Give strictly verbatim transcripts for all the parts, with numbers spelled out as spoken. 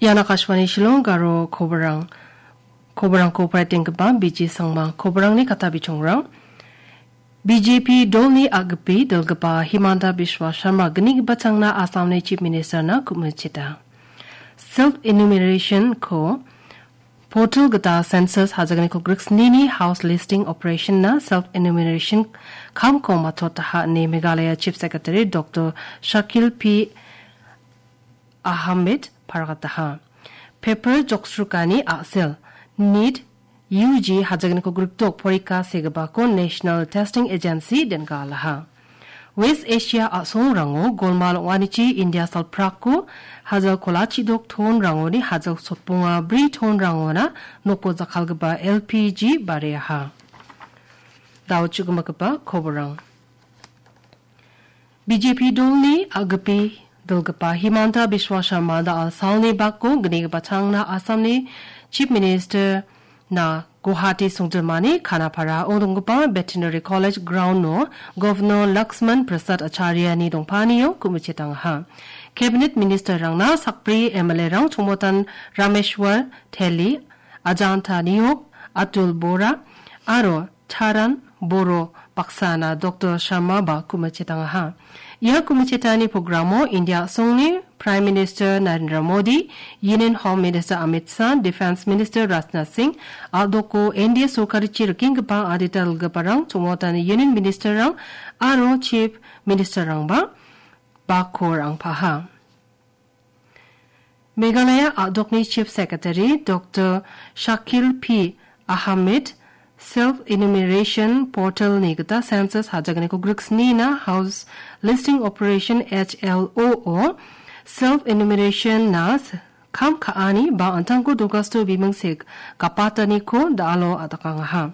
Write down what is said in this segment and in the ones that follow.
Ian Akashvani Shillong Garo koborang. Koborangko paitenggipa B J Sangma. Koborangni kata bichongrang. B J P dolni a-gipi dilgipa Himanta Biswa Sharma gnigipa changna Assamni Chief Minister-na kumicheta. Self enumeration-ko portal gita census hajagniko griksnini house listing operation-na self enumeration kamko matotaha ine Meghalaya Chief Secretary Doctor Shakil P Ahmed paragataha. Paper joksrukani a·sel, NEET, U G hajagniko grikdok porika segipako National Testing Agency dengalaha. West Asia a·songrango golmal ong·anichi India salprako hajal kolachidok tonrangoni hajal sotbonga bri tonrangona noko jakkalgipa L P G bareaha. Dao chu·gimagipa koborang. B J P dolni a-gipi dilgipa Himanta Biswa Sharma da·al salni bako gnigipa changna Assamni Chief Minister-na Guwahati songjinmani Khanapara-o donggipa Veterinary College ground-o Governor Laxman Prasad Acharya-ni dongpanio kumichitangaha. Cabinet Minister-rangna sakbri M L A-rang Chongmotan Rameshwar Teli, Ajanta Niyok, Atul Bora, aro Charan Boro baksana Doctor Sharma ba kumichitangaha. Ia kumichetani programo India a·songni Prime Minister Narendra Modi, Union Home Minister Amit Shah, Defence Minister Rajnath Singh, a·doko N D A sorkarichi rikenggipa adita dilgiparang, chongmotani Union Minister-rang aro Chief Minister-rangba bako rangpaha. Meghalaya a·dokni Chief Secretary Doctor Shakil P Ahmed self enumeration portal-ni gita census hajagniko griksnina house listing operation H L O-o self enumeration-na s-, kam ka·ani ba an·tangko dogasto biming sek gapataniko da·alo a·dakangaha.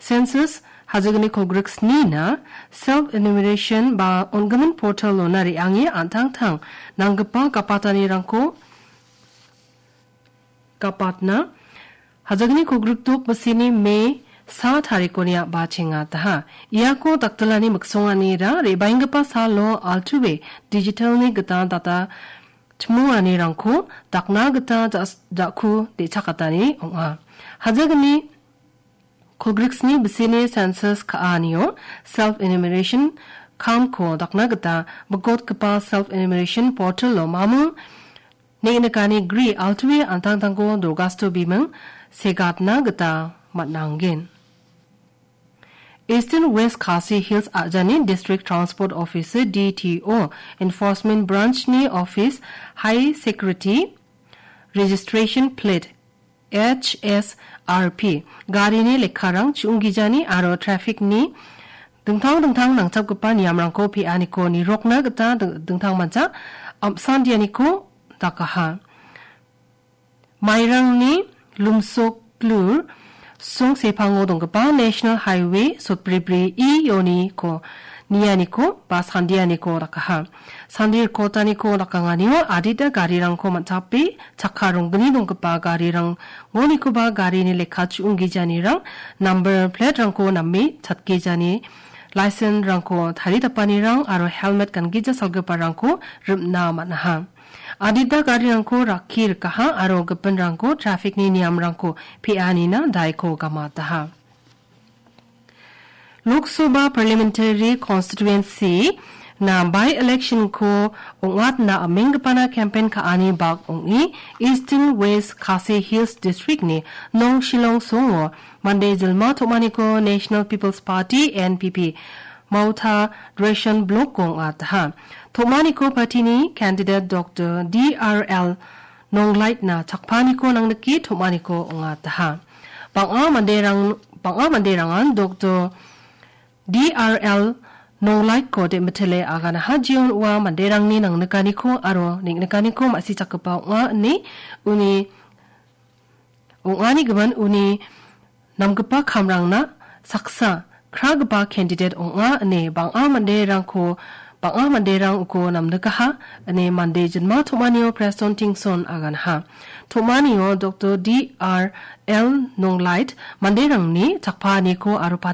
Census hajagniko griksnina self enumeration ba on·gimin portal-ona re·ange an·tangtang nanggipa gapatanirangko gapatna hajagniko grikdok bisini Me sa tarikoni a·bachengataha. Iako dakdilani miksonganira re·baenggipa salo altuwe digital-ni gita data chimmonganirangko dakna gita ja-, ja·ku de·chakatani ong·a. Hajagni kolgriksni bisini census ka·anio self enumeration kamko dakna gita bikotgipa self enumeration portal-o mamung neng·nikani gri altuwe an·tangtangko dogasto biming segatna gita man·angen. Eastern West Khasi Hills a·jani District Transport Officer, D T O, Enforcement Branch-ni office high security registration plate, H S R P, garini lekkarang chu·onggijani aro traffic-ni dingtang dingtang nangchapgipa niamrangko pe·aniko nirokna gita ding-, dingtangmancha am·sandianiko dakaha. Mairangni Lumsokglur songsepango donggipa National Highway sotbribri E-oniko nianiko ba sandianiko dakaha. Sandi rikotaniko dakanganio adita garirangko man·tape chakka ronggni donggipa garirang, ngonikoba garini lekka chu·onggijanirang, number plate-rangko name chatgijani, license-rangko taridapanirang aro helmet gangija salgiparangko rim·na man·aha. Adita garirangko rakki rikaha aro gipinrangko traffic-ni niamrangko pe·anina daiko gamataha. Lok Sabha Parliamentary Constituency-na by-election-ko ong·atna amenggipana campaign ka·ani bak ong·e Eastern West Khasi Hills District-ni Nong Shillong songo mande jilma tom·aniko National People's Party, N P P, Mawtha Dreshan Block-ko ong·ataha. Tom·aniko party-ni candidate Doctor D R L Nonglait-na chakpaniko nangnike tom·aniko ong·ataha. Bang·a manderang, bang·a manderangan Doctor D R L Nonglait-ko de·mitele aganaha, jeon ua manderangni nangnikaniko aro neng·nikaniko ma·sichakgipa ong·a ine uni ong·ani gimin uni namgipa kamrangna saksa kragipa candidate ong·a ine bang·a manderangko, bang·a manderang uko namnikaha ine mande jinma tom·anio Preston Tingson aganaha. Tom·anio Doctor D R L Nonglait manderangni chakpaaniko aro party